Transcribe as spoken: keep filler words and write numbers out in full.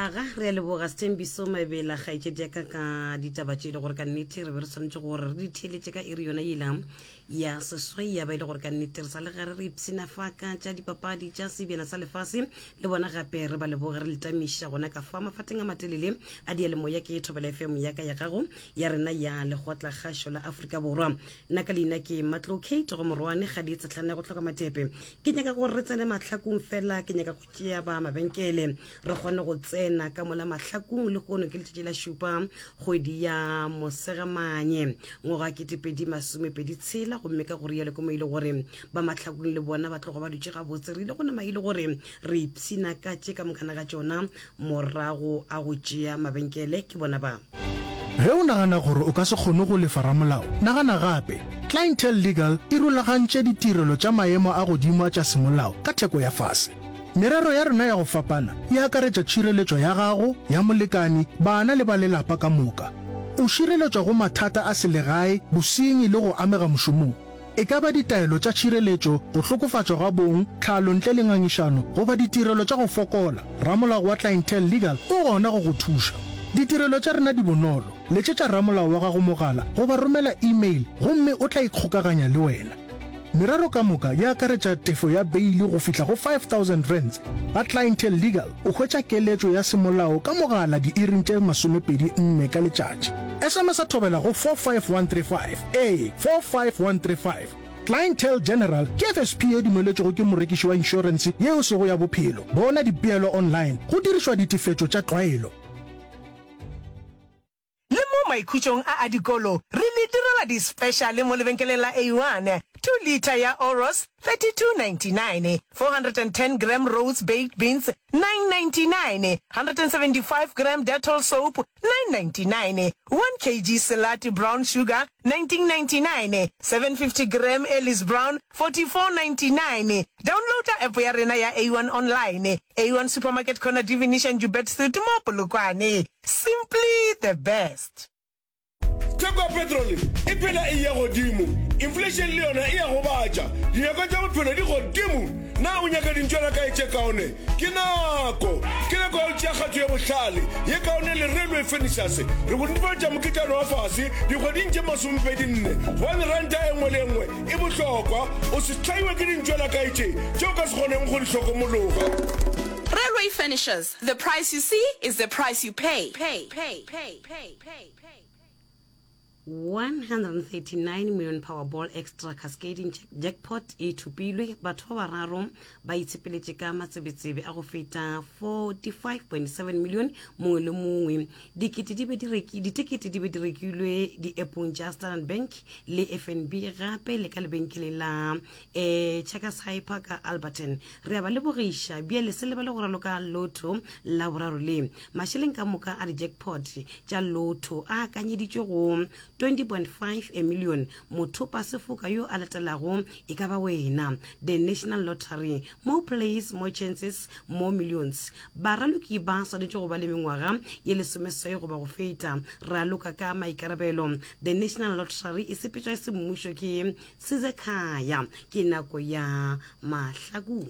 Aga re a leboga Sthembiso Mabela kgaetšedi ya ka ka ditaba tše e le gore ka nnete re be re swanetše gore re di theeletše ka iri yona yela ya seswai ya ba e le gore ka nnete re sa le gare re ipshina fa ka tša dipapadi tša sebjana sa lefase le bona gape re ba leboge re letamiša gona ka fa mafateng a matelele a diyalemoya ke Thobela F M ya ka ya gago ya rena ya lekgotla kgašo la Afrika Borwa. Nna ka leina ke Matlo Kate go morwane ga di tsetlhane go hloka matepe. Ke nyaka gore re tsene mahlakong fela, ke nyaka go tšea ba mabenkele re kgone go tsena ka mola mahlakong. Le kono ke letšatši la šupa kgwedi ya Mosegamanye ngwaga ketepedi masomepedi tshela, gomme ka gore yalo ke mo ile gore ba mahlakong le bona ba tloga ba dutše gabotse. Re ile go nama ile gore re ipshina ka tše ka mokana ga tšona morago a go tšea mabenkele ke bona ba. Ge o nagana gore o ka se kgone go lefa ramolao, nagana gape. Clientele Legal e rulagantše ditirelo tša maemo a godimo a tša semolao ka theko ya fase. Merero ya rena ya go fapana e akaretša tšhireletšo ya gago, ya molekani, bana le ba lelapa ka moka. O šireletšwa go mathata a selegae, bosenyi le go amega mošomong. E ka ba ditaelo tša tšhireletšo, go hlokofatšwa ga bong, tlhalo ntle le ngangišano, goba ditirelo tša go fokola, ramolao wa Clientele Legal o gona go go thuša. Ditirelo tša rena di bonolo. Letšetša ramolao wa gago mogala goba romela email gomme o tla ikgokaganya le wena. Merero ka moka e akaretša tefo ya beili go fihla go five thousand rands. Ga Clientele Legal o hwetša keletšo ya semolao ka mogala diiring tše masomepedi nne ka letšatši. S M S a Thobela go four five one three five, ee, four five one three five. Clientele General ke F S P ye dumeletšwego ke morekiši wa inšorense yeo sego ya bophelo. Bona dipeelo online go dirišwa ditefetšo tša tlwaelo. Le mo maikhutšong a a dikolo re le direla di-special mo lebenkeleng la A one. two litre ya Oros thirty-two ninety-nine, four hundred and ten gram Rhodes baked beans nine ninety-nine, one hundred seventy-five gram Dettol soap nine ninety-nine, one kilogram Selati brown sugar nineteen ninety-nine, seven hundred fifty gram Ellis Brown forty-four ninety-nine. Downloada app ya rena ya A one online. A one Supermarket, corner Divination Joubert Street mo Polokwane. Simply the best. Theko ya petrole e phela e ya godimo, inflation le yona e ya gobatša, dinyakwa tša bophelo di godimo. Na o nyaka dintšwela kae tše kaone? Ke nako, ke nako ya go tšea kgato ye bohlale, ye kaone le Railway Furnitures. Re go netefaletša mokitlano wa fase dikgweding tše masomepedi nne, gobane ranta e nngwe le e nngwe e bohlokwa. O se hlaiwe ke dintšwela kae tše tše o ka se kgoneng go di hlokomologa. Railway Furnitures, the price you see is the price you pay. Pay, pay, pay, pay, pay. one hundred thirty-nine million Powerball Extra Cascading Jackpot e thopilwe. Batho ba bararo ba itshepeletše ka matsebetsebe a go feta forty-five point seven million mongwe le mongwe. Dikete di be di reki ditekete di be di rekilwe di-appong tša Standard Bank le F N B, gape le ka lebenkeleng la um Checkers Hyper ka Alberton. Re a ba lebogiša. Bjale se lebale go raloka lotto la boraro le mašeleng ka moka a di-jackpot tša lotto a akanyeditšwe go twenty point five a million. Mothopa sefoka yo a latelago e ka ba wena. The National Lottery, more plays, more chances, more millions. Baraloki ba swanetše go ba le mengwaga ye lesomeswai goba go feta. Raloka ka maikarabelo. The National Lottery e sepetšwa e semmušo ke Sizekhaya. Ke nako ya mahlakong.